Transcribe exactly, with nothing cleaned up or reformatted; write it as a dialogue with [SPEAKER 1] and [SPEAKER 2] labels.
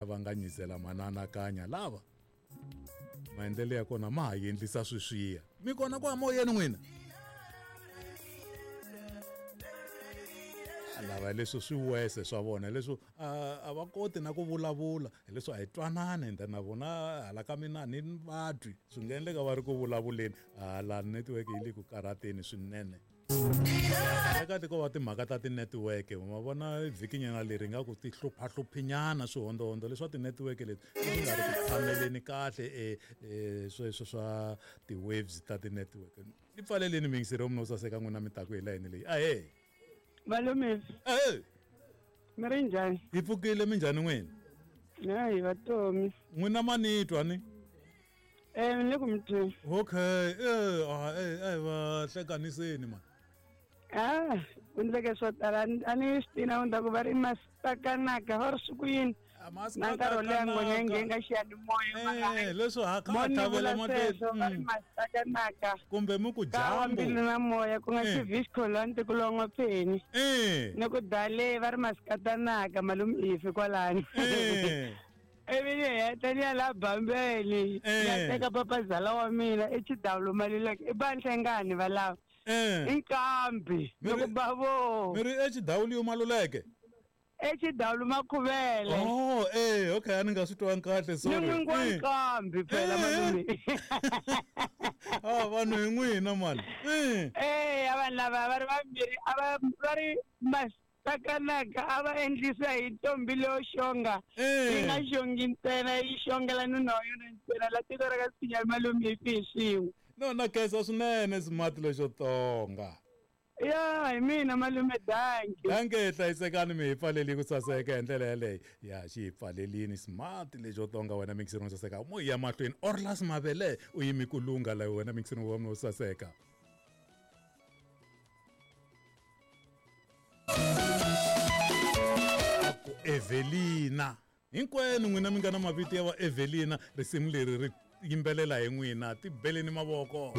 [SPEAKER 1] Va nga nyizela mananakanya lava maendlelo ya kona ma ha endlisa sweswiya mi kona ku moyeni n'wina lava leswi swi wese swa vona leswi a va koti na ku vulavula hileswi a hi twanani ende na vona hala ka mina ni vatwi swi nga endleka va ri ku vulavuleni hala network yi le ku karhateni swinene kahle ko va timhaka ta ti-network ma vona vhikinyana leri nga ku ti hluphahluphinyana swihondohondo leswa ti-network leti swi nga ri ku tshameleni kahle e sweswo swa ti-waves ta ti-network ni pfaleleni miyingiseri wa mina wo saseka n'wina mi taku hi layeni leyi ahee
[SPEAKER 2] malume
[SPEAKER 1] ahee
[SPEAKER 2] mi ri njhani
[SPEAKER 1] hi pfukile minjhani n'wina
[SPEAKER 2] hayi vatomi
[SPEAKER 1] n'wina ma ni twa ni
[SPEAKER 2] eh ni le ku mi tweni
[SPEAKER 1] okay eh ah eh eh va hlekaniseni mani
[SPEAKER 2] ah ku endleke swo tala a ni swi tivi na ku ta ku va ri masitakanaka va ri swi ku yini na nkarhi wo leha nghonya yi nghena xiyanimoya
[SPEAKER 1] leswo ha kha
[SPEAKER 2] mo ni
[SPEAKER 1] tlhavela
[SPEAKER 2] vula
[SPEAKER 1] mahlweni
[SPEAKER 2] sweswo va ri masitakanaka
[SPEAKER 1] kumbe mi ku
[SPEAKER 2] ka wa
[SPEAKER 1] jambu
[SPEAKER 2] mbilu na moya ku nga
[SPEAKER 1] Eh.
[SPEAKER 2] xiviscolante ku lon'wa pheni
[SPEAKER 1] eh
[SPEAKER 2] ni ku dale va ri masikatanaka malume ifi kwalani
[SPEAKER 1] eh
[SPEAKER 2] ivi ni heta ni ya la bambeni
[SPEAKER 1] Eh.
[SPEAKER 2] ni ya teka papazala wa mina i xidawulo maluleke i vanhlengani va lava
[SPEAKER 1] eh
[SPEAKER 2] i nkambi
[SPEAKER 1] Mi
[SPEAKER 2] ni
[SPEAKER 1] ri-
[SPEAKER 2] ku bavo
[SPEAKER 1] mi ri exidawuliyo maluleke
[SPEAKER 2] exidawulo makhuvele
[SPEAKER 1] oh eh okay a ni nga swi twangi kahle
[SPEAKER 2] ni
[SPEAKER 1] sorry
[SPEAKER 2] n'wingi wa
[SPEAKER 1] Eh.
[SPEAKER 2] nkambi phela
[SPEAKER 1] Eh.
[SPEAKER 2] malume
[SPEAKER 1] ah vanhu hi n'wina mani eh
[SPEAKER 2] Eh, a vanhu lava va ri vambirhi a va va ri masitakanaka a va endlisa hi ntombi leyo xonga yi nga
[SPEAKER 1] eh
[SPEAKER 2] xongi ntsena yi xongela nuna wa yona ntsena la tiko ra ka sinya malume hi fi hi swin'we
[SPEAKER 1] no na khensa swinene smart lexo tonga
[SPEAKER 2] ya hi mina malume danki
[SPEAKER 1] danke hlayisekani mi hi pfaleli ku saseka hi ndlela yaleyo ya xi hi pfalelini smart lexo tonga wena mixini wo saseka mo ya mahlweni orlas mavele u yimi ku lungha la wena mixini wa mina wo saseka A ku evelina hinkwenu n'wina mi nga na mavito ya va evelina risimu leri ri yimbelela hi n'wina ti beleni mavoko